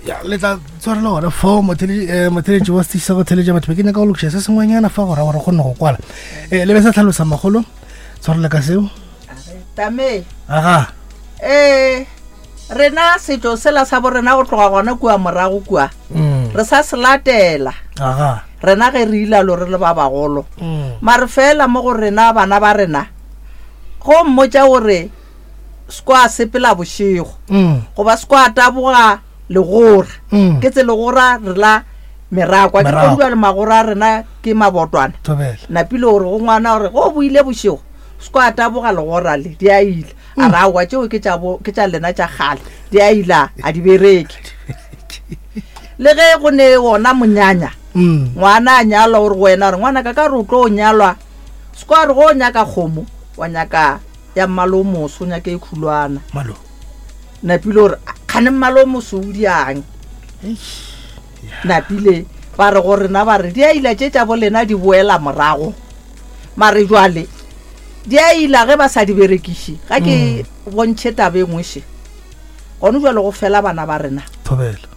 Ya, le tla tshwarela gona fo motheletši wa setiši sa go theletša batho be ke nyaka go lokiša se sengwenyana fa gora gore kgone go kwala. Le be sa tlhalosa magolo, tshwarela ka seo. Tame. Aga. Ee, rena setšo sela sa borena go tloga gona kua morago kua. Re sa se latela. Aga. Rena ge re ilalo re le ba bagolo. Mare fela mo go rena bana ba rena go mmotša gore sekwa sepela bošego goba sekwa taboga legora. Ke tse legora re la merakwa ke go le magora a rena ke mabotwana. Napile gore go ngwana gore go boile bošego sekwa taboga legora le di a ile. A ra aowa tšeo ke tša bo ke tša lena tša kgale di a ila a di bereke. Le ge go ne wona monyanya ngwana a nyalwa o re go wena gore ngwana ka ka re o tlo nyalwa sekwa re go nyaka kgomo wa nyaka ya mmalo o moso o nyaka e khulwana. Malo. Napile gore kgane mmalo o moso o diang. Napile ba re go rena ba re di a ila tše tša bo lena di boela morago. Mare jwale di a ila ge ba sa di berekiše. Ga ke bontšhe taba e nngwe še. Gone jwale go fela bana ba rena. Thobela.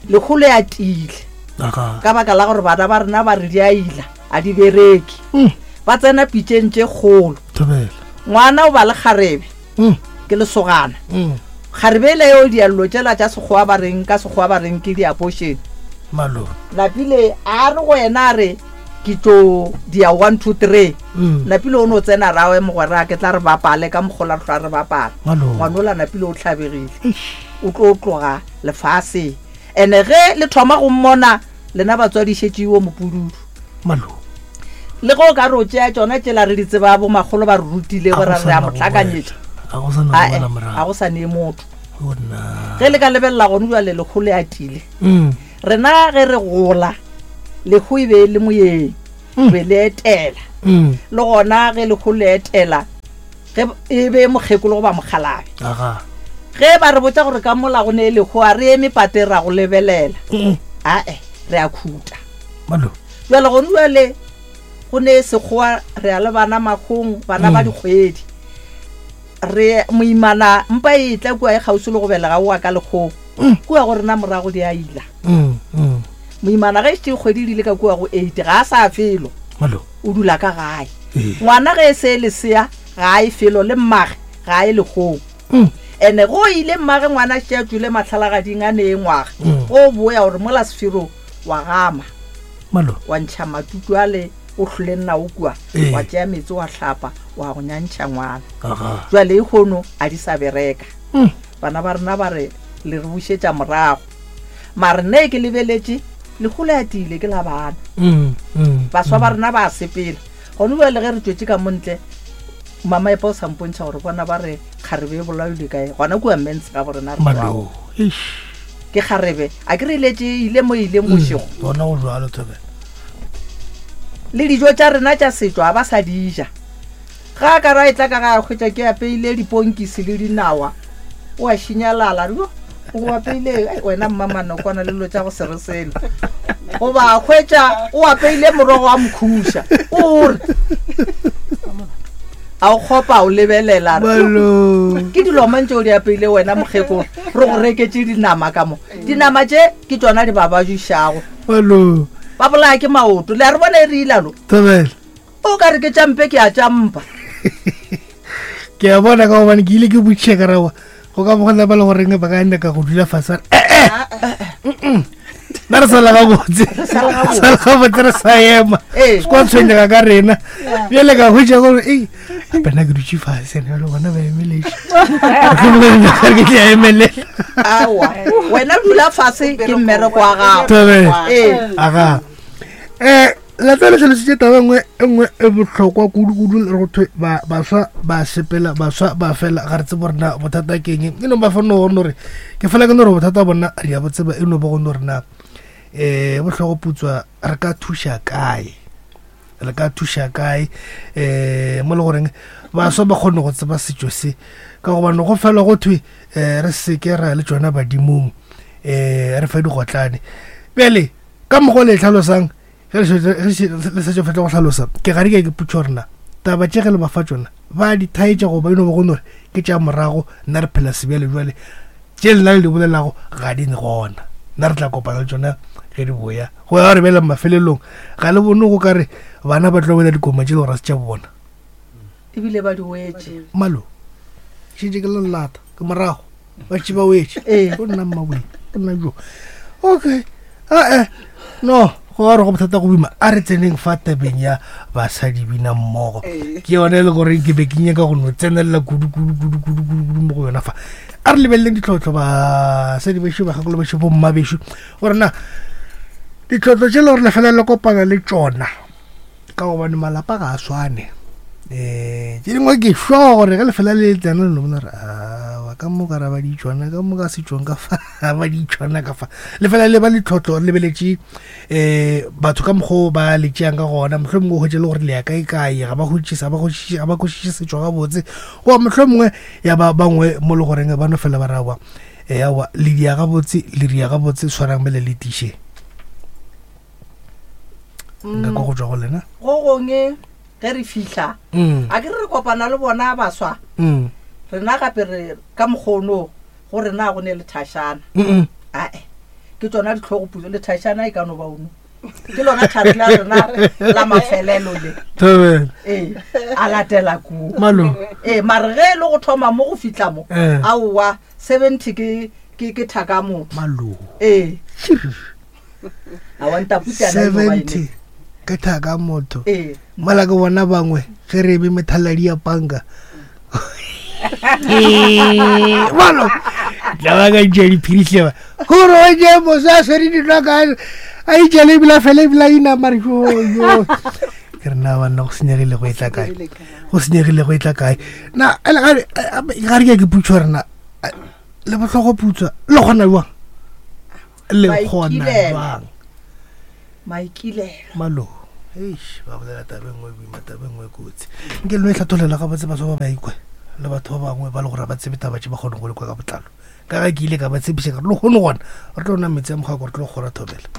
Lekgolo ya tiile. Aga. Ka baka la gore bana ba rena ba re di a ila a di bereke. Ba tsena pitšeng tše kgolo. Thobela. Ngwana o ba le kgarebe. Ke lesogana. Kgarebe ele yeo diallo tšela tša Sekgowa ba reng ka Sekgowa ba reng ke di-abortion. Malo. Napile a re go yena a re ke tlo dia 1 2 3. Napile o no tsena rawe mogwera ke tla re bapale ka mokgola re hlwa re bapala. Malo. Ngwanola napile o hlabegile. O tlo tloga lefaseng. Ene ge le thoma go mmona lena batswadi šetše yo mopududu. Malo. Le ge o ka re o tšea tšona tšela re di tseba bo makgolo ba re rutile gore re a mo hlakanyetša. A go sa na Ae, go boela morago. a go sa nee motho. O nna. Ge le ka lebelela gone jwale lekgolo le atile. Rena ge re gola lehu e be e le moyeng, be le etela. Le gona ge lehu le etela ge e be mokgekolo goba mokgalabje. Aga. Ge ba re botša gore ka mola go ne lehu a re eme pateng ra go lebelela. Ae, re a khuta. Malo. Jwale gone jwale go ne sekgowa re ya le bana makgong, bana ba dikgwedi. Re moimana mpa e tla kua e kgauswi le go belega oa ka lekgong. Kua go rena morago di a ila. Moimana ge šetše kgwedi di ile ka kua go 8 ga a sa felo. Malo. O dula ka gae. Ngwana ge e se lesea ga a e felo le mmage ga a e lekgong. Ene go ile mmage ngwana šetše a tšwile mahlalagading a nee ngwaga. Go boya gore mola sefero wa gama. Malo. Wa ntšha matutu ale o hlole nao kua, wa tšea meetse wa hlapa wa go nyantšha ngwana. Aga. Jwale e kgono a di sa bereka. Bana ba rena ba re le re bušetša morago. Mare nna ke lebeletše lehu le atile ke la bana. Baswa ba rena ba a sepela. Gone bjale ge re tšwetše ka mo ntle, Mama Epa o sa mpontšha gore bona ba re kgarebe e bolailwe kae gona kua Mens ga bo rena re Malo. tšwago. Eish. Ke kgarebe a ke re iletše e ile mo e ileng bošego. Gona go jwalo Thobela. Le dijo tša rena tša setšo a ba sa di ja. Ga a ka ra etla ka ga a hwetša ke apeile diponkisi le dinawa, o a šinyalala, a re, Yo, o apeile ai, wena mmamanokwana le dilo tša go se re selo. Goba a hwetša o apeile morogo wa mokhuša, o re a o kgopa o lebelela a re, Yo, Malo. ke dilo mang tše o di apeile wena mokgekolo, re go reketše dinama ka mo. Dinama tše ke tšona di ba bajušago. Malo. Ba bolaya ke maoto. Le a re bona e re ilalo? Thobela. O ka re ke tšampe ke a tšampa. Ke a bona ka gobane ke ile ke botšiša ka rawa go ka bogona ba le goreng ba ka nyaka go dula fase ba re, eh, eh, nna re sala gabotse sala gabotse re sa ema Ee. se kwa tshwenyega ka rena bjale ka hwetša gore ei gape nna ke dutše fase ene jale bona ba emeletše ke tla emelela Aowa, wena dula fase ke mmereko wa gago. Thobela. Ee. Aga. Eh, La tla le tlhalositše taba nngwe e nngwe e bohlokwa kudu-kudu le go thwe ba baswa ba sepela baswa ba fela ga re tsebe gore na bothata ke eng e no ba fa no gore gore ke fela ke no gore bothata bona re ya bo tseba e no ba go no re na um bohlogo putswa re ka thuša kae re ka thuša kae um mo le goreng baswa ba kgone go tseba setšo se ka gobane go fela go thwe um re seke ra le tšona badimong um re fe digotlane bjale ka mokgwa le tlhalosang ge le šetše fetša go hlalosa ke gare ke ke putšo rena taba tše ge le ba fa tšona ba di thaetša goba e no ba go nore ke tša morago nna re phela sebjale jwale. Tše lena le di bolelago ga di gona. Nna re tla kopana le tšona ge di boya. Go ya gore bjale mafelelong ga le bone go ka re bana ba tlo wela dikoma tše le gore ga se tša bona. Ebile ba di wetše. Malo, šetše ke le lelata, ke morago, ba šetše ba wetše. Ee. Go nna mmawee, go nna jo. Okay, ae, no, go ya gore go bothata go boima. A re tseneng fa tabeng ya basadi bina mmogo. Ke yone e le gore ke be ke nyaka go no tsenelela kudu kudu kudu kudu kudu kudu mo go yona fa. A re lebeleleng ditlhohlo basadi bešo, bakgekolo bešo, bomma bešo, gore na ditlhohlo tše le gore le fela le kopana le tšona ka gobane malapa ga a swane. Um tše dingwe ke sure gore ge le fela le tsena le no bona gore awa ka mo ka ra ba di tšona ka mo ka setšong ka fa ba di tšona ka fa. Le fela le ba le tlhohlo re lebeletše um batho ka mokgwa o ba le tšeang ka gona, mohlomongwe o hwetše le gore le ya kae kae, ga ba hwetše, ga ba kwešiše, ga ba kwešiše setšo gabotse, goba mohlomongwe ya ba bangwe mo le goreng ba no fela ba re aowa, eh, aowa le dia gabotse, le ria gabotse, swarang bjale le tiše. Nka kwa go tšwa go lena. Go gongwe ge re fihla, Mm. a ke re re kopana le bona baswa, Mm. rena gape re ka mokgono go rena go ne le thašana. Mm-mm. Ae, ke tšona dihlogoputso, le thašana e ka no ba ono. Ke lona thari la rena la mafelelo le. Thobela. Ee, a latela koo. Malo. Ee, mare ge e le go thoma mo go fihla mo, Eh. aowa, 70 ke, ke, ke thaka motho. Malo. Ee. Aowa, ntaputšana e no ba e ne. 70 ke thaka motho. Ee. Mola ke bona bangwe ge re eme methaladi ya panka. Malo. Tla ba ka ntšha diphiri hle ba. Gore o je moso a swere dinwa ka a itšele ebile a fele ebile a inama re jo jo. Ke re na banna go senyegile go etla kae? Go senyegile go etla kae? Na ele ga ga re ke ke putšo rena le bohloko putswa le kgona jwang? Le kgona Maikilelo. jwang? Maikilelo. Malo. Eish, ba bolela taba e nngwe boima, taba e nngwe e kotsi. Nke le no e hlathollela gabotse batho ba ba ikwe le batho ba bangwe ba le gore ba tsebe taba tše ba kgone go le kwa ka botlalo. Ka ge ke ile ka ba tshepiša ka re lehono gona re tlo nwa metsi a mokgako re tlo kgora thobela.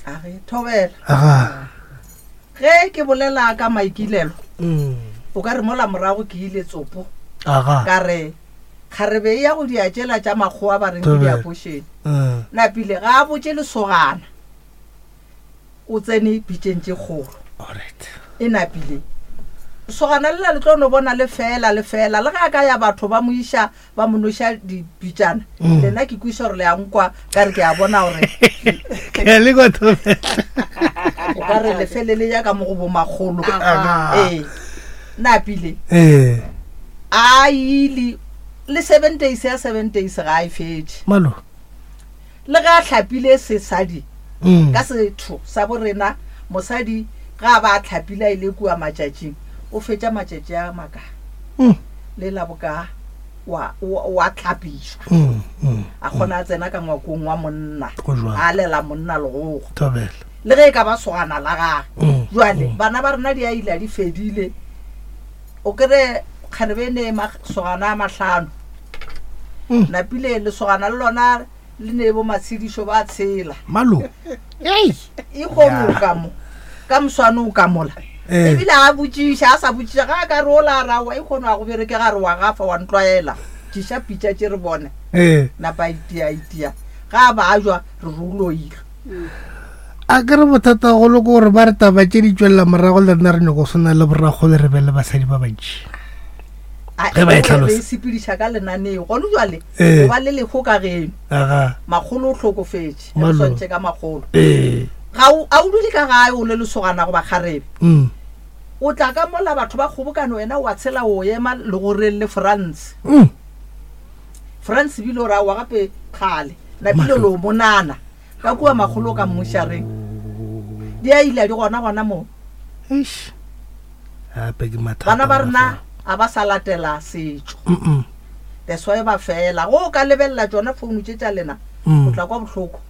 A re thobela. Aga. Ge ke bolela ka maikilelo, Mm. o ka re mola morago ke ile tsopo. Aga. Ka re kgarebe e ya go dia tšela tša makgowa ba reng ke Thobela. diapošene. Mm. Napile ga a botše lesogana. O tsene pitšeng tše kgolo. Alright. E napile. Sogana lela le tlo no bona le fela le fela le ge a ka ya batho ba mo iša ba mo noša dipitšana. Mm. Lena ke kwiša gore le a nkwa ka re ke a bona gore Ke a le kwa thobela. o ka re le fele le ya ka mo go bo makgolo. Aga. Ee. Napile. Ee. A ile le 7 days ya 7 days ga a e fetše. Malo. Le ge a hlapile sesadi Mm. ka setho sa borena, mosadi ga a ba a hlapile a ile kua matšatšing, o fetša matšatši a makae? Mm. Le la bokaa wa, wa, wa hlapišwa. Mm, mm, A kgona a tsena ka ngwakong wa monna, Go jwalo. a lela monna legogo. Thobela. Le ge e ka ba sogana la gage. Mm, Jwale, mm. bana ba rena di a ile di fedile. O kry-e kgarebe e ne masogana a mahlano. Mm. Napile lesogana le lona le ne bo matshedišo ba tshela. Malo. Ei. E kgomo o ka mo. Ka moswane o ka mola. Eh. Ebile a botšiša, a sa botšiša, ga a ka re o la ra wa e kgono a go bereke ga re wa gafa wa ntlwaela. Tšiša pitša tše re bone. Eh. Napa a itia, itia. Ga a ba a jwa re re o loile. A ke re bothata golo ke gore ba re taba tše di tšwelela morago le rena re nyako swana le borrakgolo re be le basadi ba bantši. A Ge ba e e hlalosa. re e sepediša ka lenaneo. Gona jwale, Ee. o ba le leho ka geno. Aga. Makgolo o hlokofetše. Re Malo. swantšhe ka makgolo. Ee. Ga o, a o dule ka gae o le lesogana goba kgarebe. Mm. O tla ka mola batho ba kgobokane wena wa tshela o ema legoreng le France. Mm. France bile o ra wa gape kgale. Napile Mahlo. lo monana. Ka kua makgolo ka mmošareng. Di a ile di gona gona mo. Eish. Gape ke mathata. Bana ba gona rena fa. a ba sa latela setšo. Mm-mm. That's why ba fela. Go o ka lebelela tšona founu tše tša lena, Mm. o tla kwa bohloko.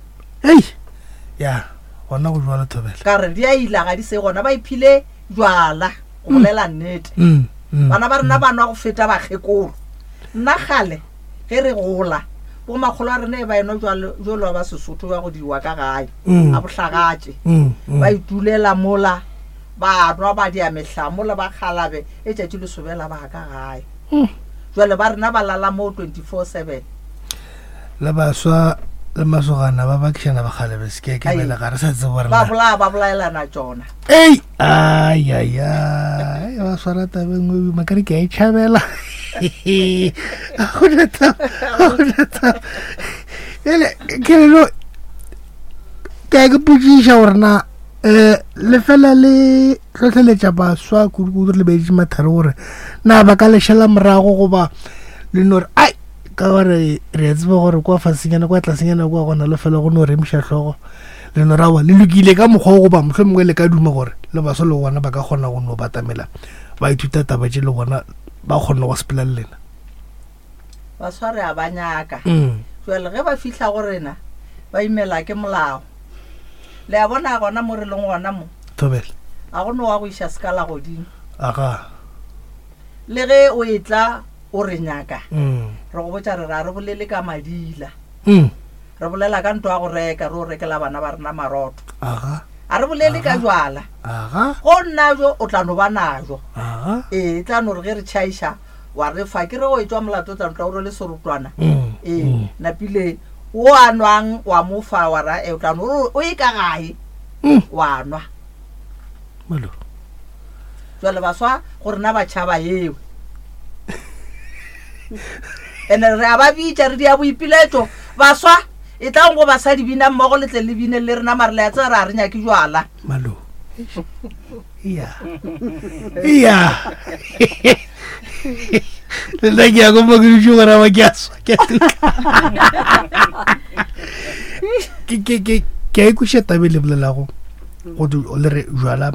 Ei. Ya, gona go jwalo thobela. Ka re di a ila ga di se gona ba iphile jwala go bolela nnete. Mm. Mm. Bana ba rena ba nwa go feta bakgekolo. Nna kgale ge re gola bo makgolo a rena e ba enwa jwalo jwalo ba Sesotho ba go diwa ka gae Mm. a bohlagatše. Mm. Mm. Ba itulela mola ba nwa ba dia mehla mola ba kgalabe e tšatši le sobela ba ka gae. Mm. Jwale ba rena ba lala moo 24/7. Le baswa le masogana ba bakišana bakgalebe seke ke bele ga re sa tsebo rena. Ba bolaya ba bolaelana tšona. Ei, ai ai ai, ba swara taba e nngwe boima ka re ke a e tšhabela. Ga gona taba, ga gona taba. Bjale ke re no ke a ke potšiša gore na um le fela le hlohleletša baswa kudu-kudu re lebeditše mathare gore na ba ka lešela morago goba le no re ai ka gore re a tseba gore kwa fasenyana kwa tlasenyana kwa gona le fela go no remiša hlogo le no rawa le lokile ka mokgwa o goba mohlho mongwe le ka duma gore le baswa le gona ba ka kgona go no batamela ba ithuta taba tše le bona ba kgone go sepela le lena Baswa re a ba nyaka. Jwale ge ba fihla go rena ba imela ke molao. Le a bona gona mo re leng gona mo. Thobela. A go no wa go iša sekala godimo. Aga. Le ge o etla o re nyaka. Re go botša re ra re bolele ka madila. Re bolela ka nto ya go reka re o rekela bana ba rena marotho. Aga. A re bolele ka jwala. Aga. Go nna jo o tla no ba najo. Aga. Ee, e tla no re ge re tšhaiša wa re fa ke re go etšwa molato tla ntla o rwele serotwana mm, ee mm. napile o a nwang wa mo fa wa ra e o tla no o e ka gae mm. wa nwa malo jwale baswa go rena ba tšhaba eo ene re a ba bitša re dia boipiletšo baswa e tlang go basadi bina mmogo le tle le bine le rena mare le a tseba re a re nyake jwala malo iya iya le nna ke ya ko mo ke dutše gore ba ke a swa ke a tuka ke ke ke ke a ikweša tabe le bolelago go le re jwala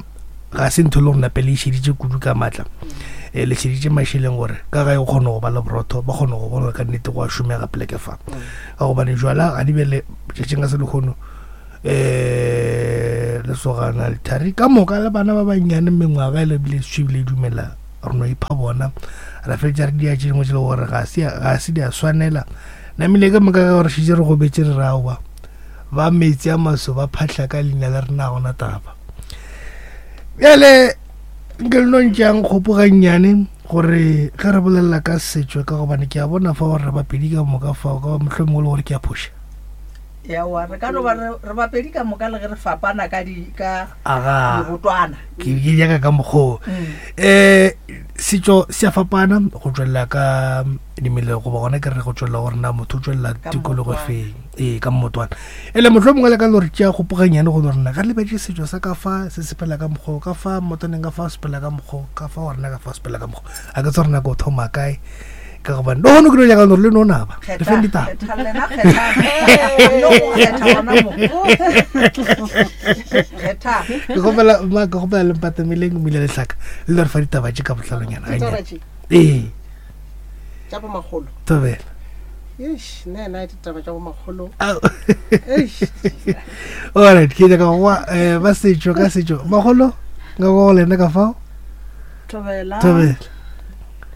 ga se ntho e le gore nape le išeditše kudu ka maatla um le šeditše mašeleng gore ka gae o kgone go ba le borotho ba kgone go bona ka nnete go a šomega poleke fa ka gobane jwala ga di bele tšatšing ka se lekgono um lesogana lethari ka moka le bana ba bannyane mengwaga e lebile swi bile dumela re no ipha bona ra fetša re dia tše dingwe tše le gore ga se di a swanela namile ka moka ka gore šitše re gobetse re raowa ba metsi a maso ba phahla ka leina le rena gona taba bjale nke le no ntšeang kgopo gannyane gore ge re bolelela ka setšo ka gobane ke a bona fa gore re bapedi ka moka fao ka mohlomongwe le gore ke a phoša Ewa, re ka no ba re re bapedi ka moka le ge re fapana ka di ka aga dirotwana. ke ke nyaka ka mokgoo Mm. um setšo se a fapana go tswelela ka dimele goba gona ke re go tswelela gore na motho o tswelela Ka tikologo mmotwana. feng ee ka mmotwana ele motlho mongwe le ka no re tšea kgopoganyane go no rena ga lebetse setšo sa ka fa se sepela ka mokgoo ka fa mmotwaneng ka fa sepela ka mokgoo ka fa wa rena ka fa sepela ka mokgoo a ke tse rena ko thoma kae ka gobane le gone ke no nyaka gore le no naba le feng ditaba Kgetha lena, kgetha. No go kgetha gona mo. Kgetha. ke gopela ma ke gopela le mpatameleng mmile letlhaka le le re fa ditaba tše ka botlhalonyana Ditaba gannyane tše ee tša bomakgolo tobela eish nna ena ditaba tša bomakgolo Au. eish alright ke nyaka go kwa eh, ba setšo ka setšo magolo nka kwa go lena ka fao Thobela. Thobela.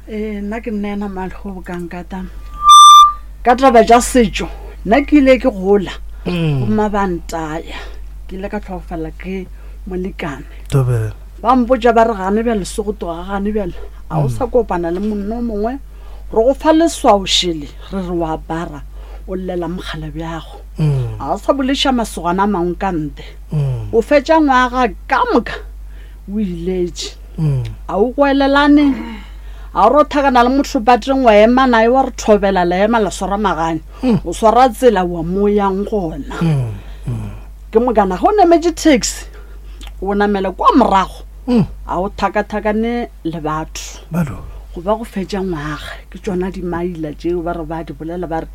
Ee, nna ke nna ena malgo bokankata. Ka taba tša setšo, nna ke ile ke gola. Mm. Bomma ba ntaya. Ke ile ka tlhokofala ke molekane. Thobela. Ba mpotša ba re gane bjale se go tloga gane bjale. A o Mm. sa kopana le monna o mongwe. Re go fa leswao šele re re wa apara o llela mogala bjago. Mm. A o sa boleša masogana a mangwe ka nte. Mm. O fetša ngwaga ka moka o iletše mm. a o goelelane a o rothakana le motho pateng wa ema naye wa re thobela la ema la swara magane mm. o swara tsela wa mo yang gona mm. ke mokana ga o nametše taxi o namela kwa morago a o thakathakane le batho go ba go fetša ngwaga ke tsona dimaila tšeo ba re ba di bolela ba re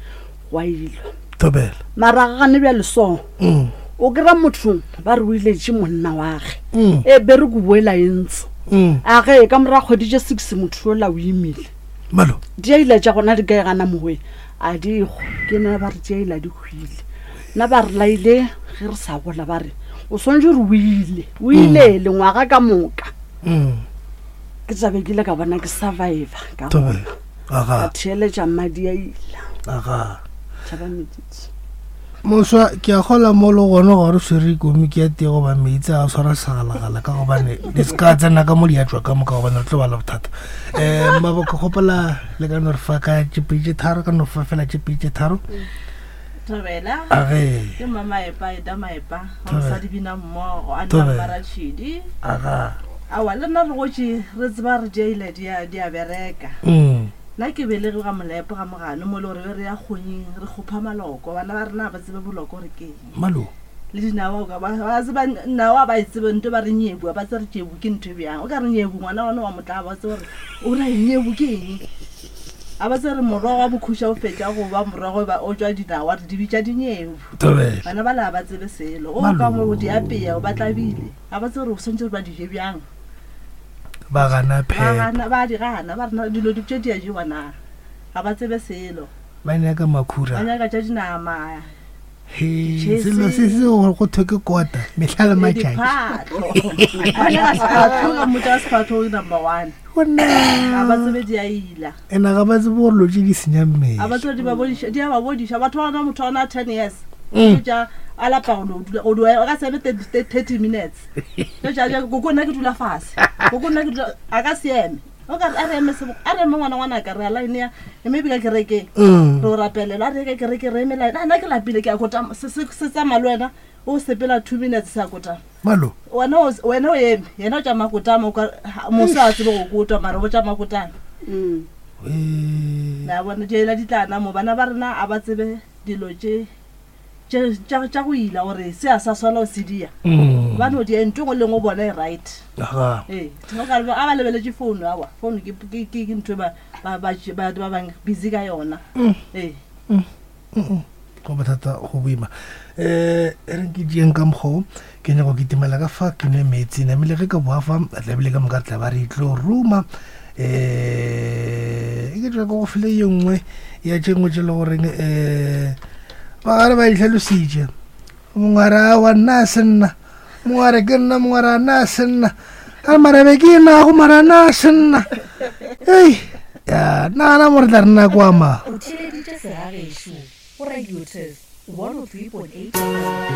gwa ilwa Thobela. Mara gane bjale so Mm. o kry-a motho ba re o iletše monna wage Mm. e bere ko boela e ntse Mm. a ge ka morago kgwedi tše six motho yola o imile Malo. diaila tša gona di kae gana mowe a di go ke ne ba re diaila di hwile nna ba re laile ge re sa gola ba re o swanetše gore o ile o ile lengwaga ka moka Mm. ke tlabe ke ile ka bona ke survivor ka Thobela. gona Aga. ka theeletša mmadi a ila Aga. tšhaba meditsi. Moswa, ke a kgola mo le gona ga re swere komiki ya tee goba meetse a swara segalagala ka gobane di se ka tsena ka mo di a tšwa ka moka gobane re tlo ba le bothata. Um maboko kgopela le ka no re fa ka tšepedi tše tharo ka no fa fela tšepedi tše tharo. Thobela. Age. Ke mma Maepa eta Maepa. Wa Thobela. mosadi bina mmogo a nna Thobela. mmaratšhidi. Aga. Aowa le nna re gotše re tseba re diaila di a di a bereka. Nna ke belege ga Molepo ga Mogano mo e le gore be re ya kgonying re kgopha maloko. Bana ba rena ga ba tsebe boloko gore ke eng. Malo. Le dinawa o ka ba ba tseba nawa ba e tsebe nto ba re nyebu ba tsebe re tšebu ke ntho e bjang. O ka re nyebu ngwana wa wa motlaba ba tsebe gore o ra eng nyebu ke eng. A ba tsebe re morogo wa bokhuša o fetša go ba morogo ba o tšwa dinawa re di bitša dinyebu. Thobela. Bana ba la ba tsebe selo. O ka mo di apeya o ba tlabile. Ga ba tsebe gore o swantse gore ba di je bjang. Ba gana phepo. Ba gana, ba di gana, ba re na dilo di tše di a jewa na? Ga ba tsebe selo. Ba nyaka makhura. Ba nyaka tša dinama. He, selo se se gore go thwe ke kota, mehla le matšatši. Diphatlo. Ba nyaka sephatlo, ka mmotša ka sephatlo ke number one. Gona. Ga ba tsebe di a ila. Ena ga ba tsebe gore lo tše di senya mmele. Ga ba tsebe di ba bodiša, di a ba bodiša. Batho ba gona motho wa gona 10 years. Tša a lapa go no dula, go dula, a ka se eme 30 minutes. Koko nna ke dula fase koko nna ke dula a ka se eme o ka a re eme a re eme ngwana ngwana ka re a line ya maybe ka kerekeng mm. re o rapelela a re ka kereke re eme line a nna ke lapile ke a kota se se tsamaya le wena o sepela two minutes se a kotama malo wena wena o eme yena o tšama kotama o ka moso a tsebe go kotwa mara o tšama kotama mm. la bona diela di tlana mo bana ba rena a ba tsebe dilo tše tša tša go ila gore se a sa swana o se dia mm. ba no dia ntho e nngwe le nngwe bona e right ee a ba lebeletše founu awa founu ke ke ntho e ba ba ba ba bang busy ka yona mm. ee mm. Go bothata go boima um e reng ke dieng ka mokgwa o ke nyako ke timela ka fa ke nwe metsi namile ge ka boa fa tlabile ka moka re tla ba re tlo ruma um e ke tswa go file ye nngwe ya tše nngwe tše le goreng um ba gare ba itlhalositše mongwe a re awa nna a se nna mongwe a re ke nna mongwe a re a nna a se nna a re mara be ke nago mara nna a se nna ei ya nagana mo re tla re nna kwa ma O theeleditše Segagešo go Radio Turf 103.8 FM.